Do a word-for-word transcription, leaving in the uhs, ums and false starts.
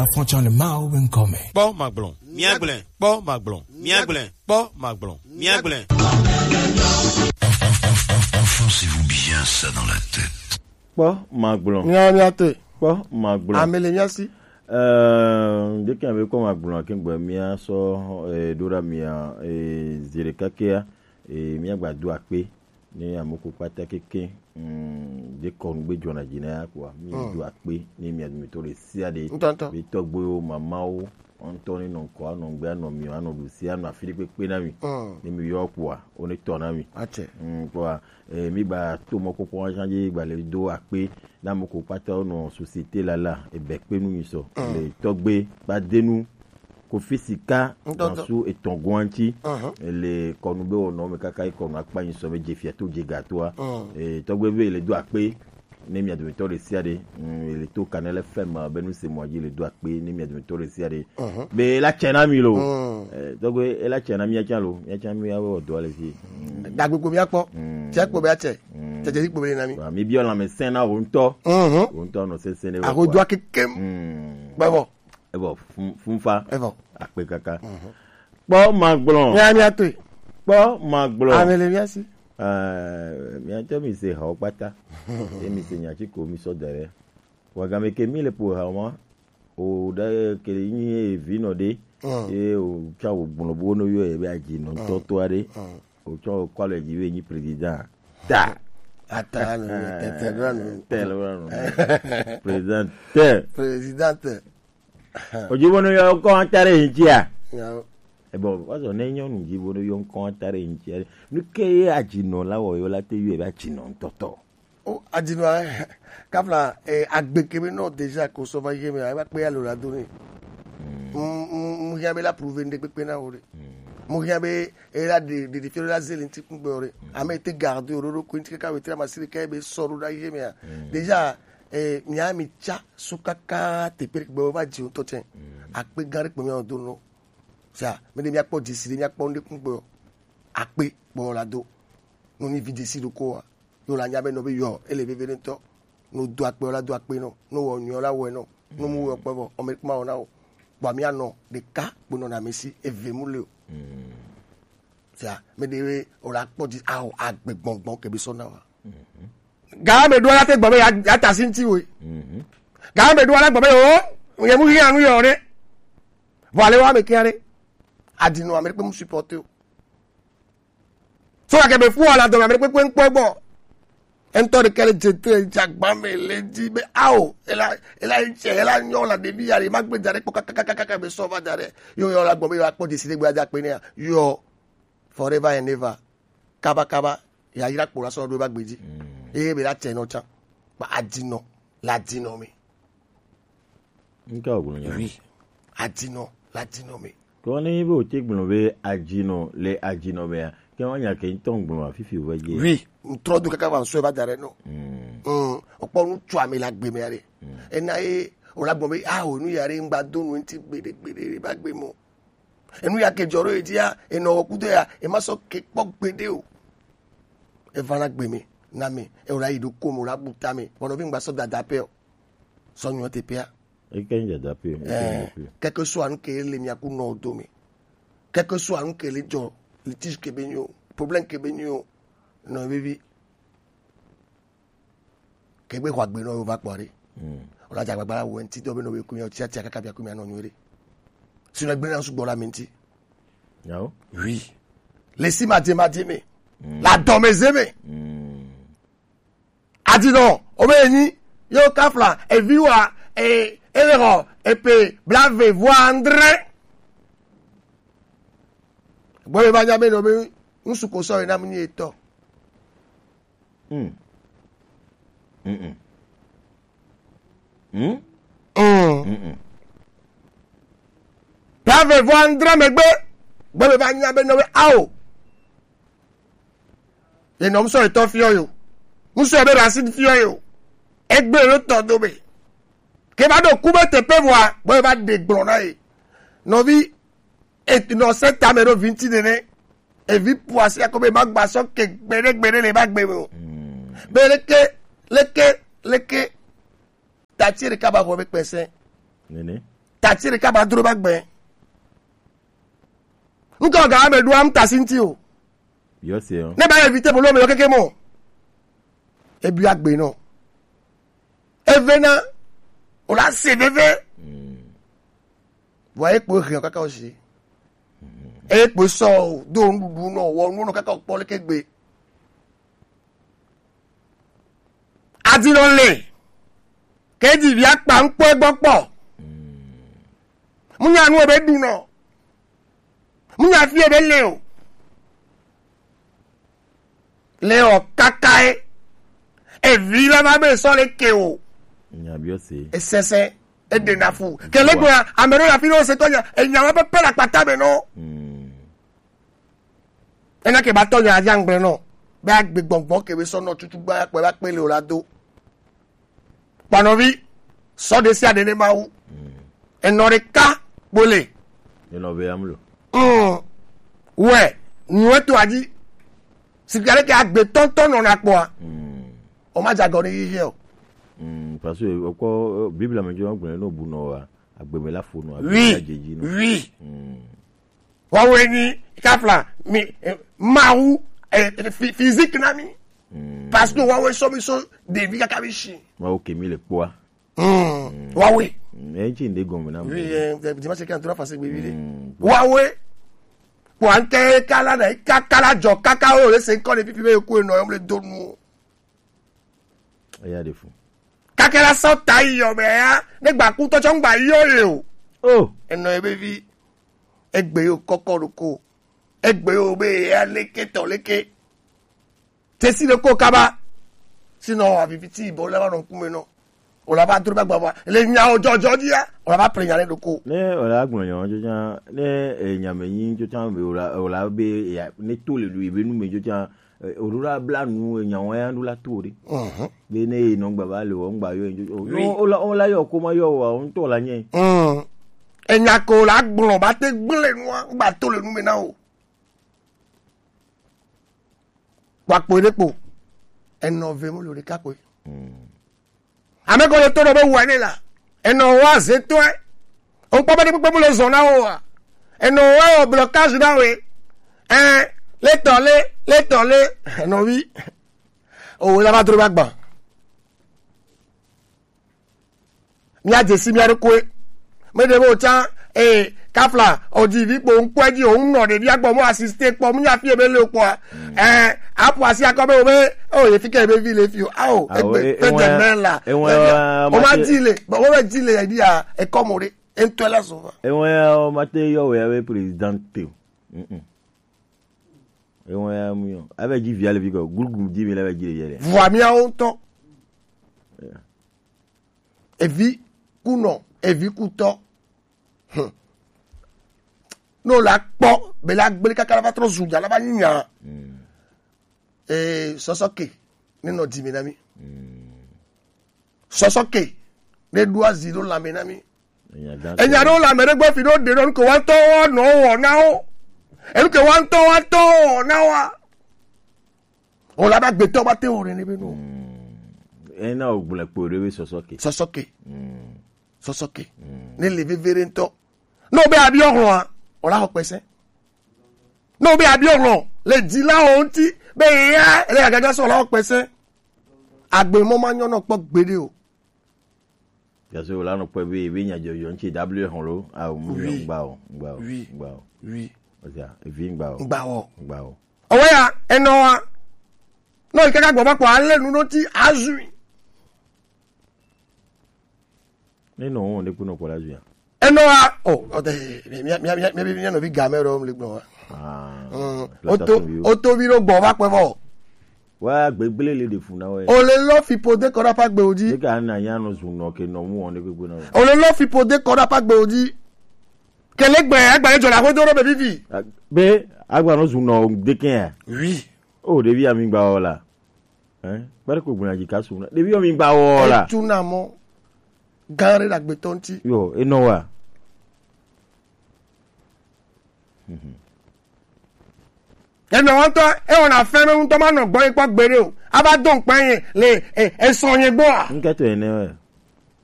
Afɔtsɔ le Mawu be ŋkɔ me. Kpɔ magblɔ, míagblẽ. Kpɔ magblɔ, míagblẽ. Kpɔ magblɔ, míagblẽ. Enfoncez-vous bien ça dans la tête. Kpɔ magblɔ. Mía, mía te. Kpɔ magblɔ. Ame le mía si. Ɛɛ, ɖeke be kpɔ magblɔ ke gbe mía sɔ, ɛɛ, ɖo ɖa mía, ɛɛ, zi ɖeka kea, ɛɛ, mía gba do akpe ne ame ko kpata keke, mm, ɖe kɔnu gbe dzɔna dzi na ya kpoa, mí do akpe ne mía dometɔ ɖe sia ɖe. Ŋutɔŋutɔ. Be tɔgbuiwo, mamawo, ŋutɔ ne nɔ ŋkɔ, anɔ ŋgbe, anɔ mi, anɔ ɖusi, anɔ afi ɖe kpekpe na mi. Mm. Ne mi yɔ kpoa, wo ne tɔ na mi. Atsɛ. Mm, kpoa, eh, mi ba to mɔ kpɔkpɔ wa jan dzi gba le do akpe na ame ko kpata wo nɔ société la la, ebe kpe nu mi sɔ. Mm. Le tɔgbe, ba denu, Kofi Sika, Ŋutɔŋutɔ. Gansu etɔn goanti, Mhm. Le kɔnu be wɔnɔ me kaka yi kɔnu akpa nyi sɔ be dze fia to dze gatoa. Mm. Eh, tɔgbe be le do akpe, ne mia dometɔ ɖe sia ɖe, mm, le to Kanɛl F M be nu se mɔ dzi le do akpe, ne mia dometɔ ɖe sia ɖe. Mhm. Be la tsɛ na mi lo. Mm. Eh, tɔgbe, e la tsɛ na mia tsã lo, mia tsã mi awo dɔ le fi. Mm. Dagbe ko mia kpɔ, Mm. tsɛ ko be atsɛ, Mm. tsɛ tsɛ ko be na mi. Wa, mi biɔ lãmesẽ na wo ŋutɔ. Mhm. Wo ŋutɔ nɔ sese ne. Aho do akeke. Mm. Bɛ bɔ. Evɔ fun-, funfa. Evɔ. Akpe kaka. Mhm. Kpɔ magblɔ. Mía, mía to. Kpɔ magblɔ. Ame le mía si. Eh, mía tɔ mi se hawo kpata. Ye mi se nya tsi ko mi sɔ da ɖe. Wa game ke mi le po hawo ma. O ɖe ke nyi evi nɔ ɖe. Mm. Ye o tsɔ wo gblɔ bo no yɔ ye be adzi nɔ Mm. tɔtɔ aɖe. Mm. O tsɔ wo kɔ le dzi be nyi président. Ta. Ata no tete ɖo no. Tele ɖo no. Président. Président. O dzi bo no yɔ ŋkɔ ta ɖe ŋutia. Nyawo. Ebɔ, wazɔ ne nyɔnu dzi bo no yɔ ŋkɔ ta ɖe ŋutia. Nu ke ye adzinɔ la wɔ yo la te yɔ be adzinɔ ŋutɔtɔ. O adzinɔ, eh, kafla, eh, agbe ke be nɔ déjà ko sɔ va yi me, eva kpe alo la do ne. Mm. Mm, mm, mm, hia be la prouver ŋɖe kpekpe na wo ɖe. Mm. Mo hia be e la de, de, de fiɔ la zeli ŋti kungbe wo ɖe. Mm. Ame te garde wo ɖo ko ŋti kaka wetre ma siri ke be sɔ ɖo ɖa yi me. Mm. Déjà, eh, mia mi tsa su kaka te pe gbe wo va dzi ŋutɔ tsɛ. Mm. Akpe gã ɖe kpe mia do no. Sa, mi ɖe mia kpɔ dzesi ɖe mia kpɔ ŋɖe kungbe o. Akpe kpɔ la do. No ni vi dzesi ɖo ko wa. Yo la nya be nɔ be yɔ, ele veve ɖe ŋutɔ. No do akpe o la do akpe nɔ. No wɔ nyuie o la wɔe nɔ. No mu wɔ kpe vɔ, ɔme kuma wɔ na o. Kpɔ mia nɔ ɖeka kpe nɔ na mi si, eve mu le o. Mm. Sa, mi ɖe we o la kpɔ dzi, awo, agbe gbɔngbɔn ke bi sɔ na wa. Mhm. Ga me ɖo la te gbɔ be ya, ya ta si ŋti wo. Mhm. Ga me ɖo la gbɔ be o, ye mu hia nu yɔ ɖe. Vɔ ale wa me kia ɖe. Adzinɔ ame ɖe kpe mu supporter o. So la ke be fu ala dɔ ame ɖe kpekpe ŋkpɔ gbɔ. Ŋutɔ ɖe ke le dze te dze agba me le dzi be ao, ela, ela ŋtsɛ, ela nyɔ la ɖevi ya ɖe ma gbe da ɖe kpɔ kakakakaka be sɔ va da ɖe. Yo, yɔ la gbɔ be yɔ akpɔ dzesi ɖe gbe ada kpe nea. Yɔ. Forever and ever. Kaba kaba. Ya yra kpo la sɔ ɖo va gbe dzi. Mm. Eye be la tsɛ nɔ tsã. Ba adzinɔ, la adzinɔ me. Ŋke wògblɔ nya. Oui. Adzinɔ, la adzinɔ me. Kɔ ne be wòte gblɔ be adzinɔ le adzinɔ mea, ke wa nya ke ŋutɔ gblɔ afifi wòva dze. Oui. Ŋtrɔ do kaka va ŋsɔe va da ɖe nɔ. Mm. Mm. Okpɔ nu tso ame le agbe me ya ɖe. Mm. Ena ye wòla gbɔ be, ah, o nu ya ɖe ŋgba do nu ŋti gbeɖe, gbeɖe, va gbe mɔ. Enu ya ke dzɔ ɖo ye dzia, enɔ wɔ kudo ya, ema sɔ ke kpɔ gbeɖe o. Eva na gbe me, na me, ewɔ la yi ɖo ko me, wòla bu ta me, bɔnɔ vi ŋgba sɔ dada pɛ o. Sɔ nyɔ te pɛa. Eke nyi dada pɛ o, eke nyi dada pɛ o. Eh, keke so anu ke le mia ku nɔ do me. Keke so anu ke le dzɔ, litige ke be nyo, problème ke be nyo, nɔ vivi. Ke gbe xɔ agbe nɔ yo va kpɔ ɖe. Mm. Wòla dze agbagba la wɔ ŋti dɔ be nɔ be ku mia, tia tia kaka bia ku mia nɔ nyuie ɖe. Sinɔ gbe na sugbɔ la me ŋti. Yawo. Oui. Le si ma dze ma dze me. Mm. La dɔ me ze me. Mm. Adinɔ, o be nyi, yo kafla, evi wa, e, e le xɔ, epe, blave, vo andre. Gbɔ be va nya be nɔ be, ŋsu ko sɔ yi na mu nyi etɔ. Mm. Mm-mm. Mm? Mm. Mm-mm. Blave vɔ andre megbe, gbɔ be va nya be nɔ be ao. Ye nɔ musɔ etɔ fiɔ yo. Musɔ be racine fiɔ yo. Egbe lo tɔ do be. Ke va ɖo ku be teƒe vɔa, gbɔ be va ɖe gblɔ na ye. Nɔvi, e nɔ se tame ɖo vi ŋti nene. Evi ƒo asi akɔ be magba sɔ ke gbeɖe gbeɖe le ba gbe me o. Mm. Be leke, leke, leke. Tati ɖeka ba xɔ be kpɛsɛ. Nene. ati ɖeka ba dro ba gbe. Ŋkɔ ga me ɖo am ta si ŋti o. Yɔ se o. Ne ba éviter problème yɔ keke mɔ. Ebi agbe nɔ. Eve na. O la se veve. Vɔ ekpo hɛn kaka o si. Ekpo sɔ o do nuɖuɖu nɔ wɔ nu nɔ kaka o kpɔ leke gbe. Adinɔ le. Ke ji via kpa ŋkpɔ egbɔ kpɔ. Mu nya nu ebe ɖu nɔ. Mu nya fi ebe le o. Le o kaka e. Evi la ma be sɔ le ke o. Nya bi o se. Esese. Ede na fu. Ke le gbe ame ɖo la fi ɖo se tɔ nya. Enya wa pepe la kpata me nɔ. Ena ke ba tɔ nya aja ŋgble nɔ. Be agbe gbɔngbɔn ke be sɔ nɔ tutu gba kpɛ ba kpe le o la do. Kpanɔvi, sɔ ɖe sia ɖe ne Mawu. Enɔ ɖeka kpole. Enɔ be amlo. Mm. Wɛ, nyuɛ to adzi. Sika ɖe ke agbe tɔntɔn nɔ na kpɔa. O ma dza gɔ ne yi o. Mm, parce que okɔ Bible me jo gblɔ no bu no wa agbe me la fo no agbe Oui. La jeji no. Oui. Mm. Wawe ni kafla mi eh, Mawu eh, fi- physique na mi. Parce que wawe sɔ mi sɔ ɖevi kaka mi si. Mawu ke mi le kpɔa. Mm. Wawe. Mm, e ji nde gɔme na mo. Oui, eh, dimanche qui entoura facile oui oui. Mm. Wawe. Kwa nke kala na ka- kala jɔ kaka o le se nkɔ le pipi be ku no yom le donu. Eya ɖe fu. Kakela sɔ ta yi yɔ mɛ ya ne gba kutɔ tsɔ ŋgba yɔ ye o. Oh. Enɔ ye be vi egbe yo kɔkɔ ɖo ko egbe yo be ya leke tɔ leke tesi ɖe ko kaba sinɔ aviviti bɔ le wa nɔ ŋkume nɔ o la va dro ba gba wa le nya o jɔjɔ dia o la va ple nya le ɖo ko. Ne o la gblɔ nya o jɔ nya ne eh, nya me nyi jɔ nya o la o la be ya ne to le lu ibe nu me jɔ nya Eh, o ɖo la bla nu enya wɔn ya ɖo la to ɖe. Mhm. Be ne yi nɔ gba ba le wɔ ŋgba yɔ yi o Oui. Yɔ o la o la yɔ ko ma yɔ wa o ŋutɔ la nye. Mm. Enya ko la gblɔ ba te gblẽ nua gba to le nu me na o. Wa kpo ɖe kpo. Enɔ ve mo lo ɖeka kpo. Ame ko le to ɖo be wua ne la. Enɔ wa ze tɔe. O kpɔ be ɖe kpekpe mu le zɔn na wo wa. Enɔ wa wɔ blocage na we. Ɛ letɔ le letɔ le enɔ wi. O wo la va dro ba gba. Mía dze si mía ɖokoe. Me ɖe be o tsã ee kafla o dzi vi kpo ŋkpɔe dzi o ŋu nɔ ɖevi agbɔ mo asiste kpɔ mu nya fi ebe le o kpɔa. Ɛɛ aƒo asi akɔ be o be o ye fi ke ebe vi le fi o ao Ao, egbe e- pe ewa- de mɛ la ewa- ewa- o ma mate- dzi le bɔn o be dzi le yɛ di a ekɔ mo ɖe entɔ la so va. Ewa ya o mate yɔ wɛ be président te o. Mm-mm. Ewa ya mu yɔ ebe dzi via le fi kɔ glugu dzi mi le be dzi le yɛ le. Vua miawo ŋutɔ. Evi kunɔ evi kutɔ. Hmm. Ne wòle akpɔ be la gblẽ kaka la va trɔ zu nya la va nyi nya. Ee sɔsɔ ke ne nɔ dzi me na mi. Sɔsɔ ke ne ɖo azi ɖo lãme na mi. Enya ɖewo le ame ɖe gbɔ fi ɖewo ɖe ɖo nuke woatɔ woanɔ wɔ na wo. Enuke woatɔ woatɔ wɔ na woa. Wòle abe agbetɔ woate wɔ nene be no. Ena wògblẽ kpo ɖe be sɔsɔ ke. Sɔsɔ ke. Sɔsɔ ke. Ne le veve ɖe ŋutɔ. Ne wobe abiɔ hlɔ̃a, wòla xɔ kpɛsɛ. Ne wobe abiɔ hlɔ̃ le dzilawo ŋuti be ya ele agaga sɔ wòla xɔ kpɛsɛ. Agbe mɔ ma nyɔ nɔ kpɔ gbeɖe o. Gase wòla nɔ kpɔ be be nya dzɔdzɔ ŋuti dablo hɔn lo. Awo mu Oui. Gba o, gba o, Oui. Gba o. Oui. Ɔsia, evi gba o. Gba o. Gba o. Ɔwɛ ya, enɔ wa. Nɔ yi kaka gbɔ va kpɔ ale nu ɖo ti azui. Ne nɔ wɔn ɖe kpe nɔ kpɔ la zui ya. Enɔ wa o ɔtɛ mia mia mia mia mia nɔvi game ɖewo le gblɔ wa. Ah, Mm, o to exploitation bi o. O to bi ɖo gbɔ va kpɛ vɔ. Wa gbegble le ɖe fu na wɛ. O le lɔ fi po de kɔ ɖe aƒe agbewo dzi. Ne ka na ya nɔ zu nɔ ke nɔ mu wɔn ɖe kpekpe na wɛ. O le lɔ fi po de kɔ ɖe aƒe agbewo dzi. Kele gbe agba le dzɔ la ho do ɖo be vivi. A- Be agba nɔ zu nɔ de ke ya. Oui. O ɖevi ami gba wɔ la. Hein? Kpɛɖe ko gbɔna dzi ka su na. Ɖevi ami gba wɔ la. Etu na mɔ. Gã ɖe le agbetɔ ŋuti. Yo, enɔ wa. Enɔ ŋutɔ ewɔna fɛn be ŋutɔ ma nɔ gbɔ yi kpɔ gbeɖe o. Ava do ŋkpɛ ye le e- esɔ nye gbɔa. Ŋkɛtɔ ene wɛ.